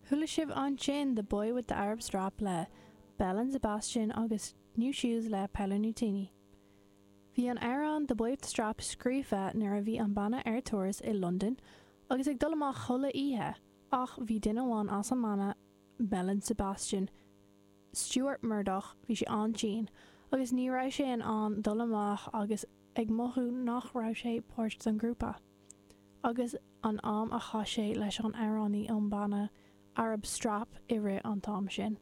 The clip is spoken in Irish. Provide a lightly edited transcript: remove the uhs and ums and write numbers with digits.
Chuala sibh ansin The Boy with the Arab Strap le Belle and Sebastian agus New Shoes le Paolo Nutini. Bhí an amhrán The Boy with the Strap scríofa nuair a bhí an banna ar turas i Londain agus ag dul amach chuile oíche ach bhí duine amháin as an mbanna, Belle and Sebastian, Stuart Murdoch, bhí sé an-tinn agus ní raibh sé in ann dul amach agus ag mothú nach raibh sé páirt den ghrúpa. Agus an am a chaith sé leis an amhránaí ón banna Arab Strap i rith an t-am sin.